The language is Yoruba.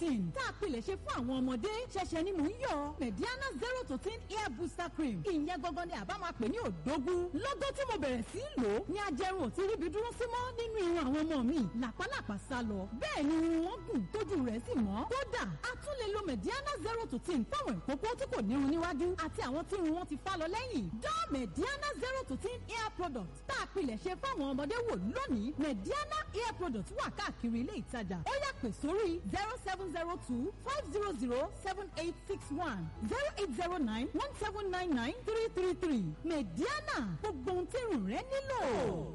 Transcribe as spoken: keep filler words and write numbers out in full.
ten tá a pilẹ̀ ṣe fún àwọn ọmọdé ṣẹ̀ṣẹ̀ ni mò ń yọ Mediana zero to ten hair booster cream. Ìyẹn gangan ni àbá máa pè ní òdógún. Lọ́gọ́ tí mo bẹ̀rẹ̀ sí í lò ó ní ajẹrun ò ti ríbi dúró sí mọ́ nínú irun àwọn ọmọ mi. Làpálàpá sá lọ. Bẹ́ẹ̀ ni irun wọn gùn tójú rẹ̀ sì mọ́. Kódà a tún lè lo Mediana zero to ten fáwọn ìkókó tí kò nírun níwájú àti àwọn tí irun wọn ti fá lọ lẹ́yìn. Dán Mediana zero to ten hair product tá a pilẹ̀ ṣe fáwọn ọmọdé wò lónìí. Mediana hair product wà káàkiri ilé ìtajà. Ó yá pè sórí zero seven zero two five zero zero seven eight six one zero eight zero nine one seven nine nine three three three. Mediana, gbogbo ohun tí irun rẹ nílò.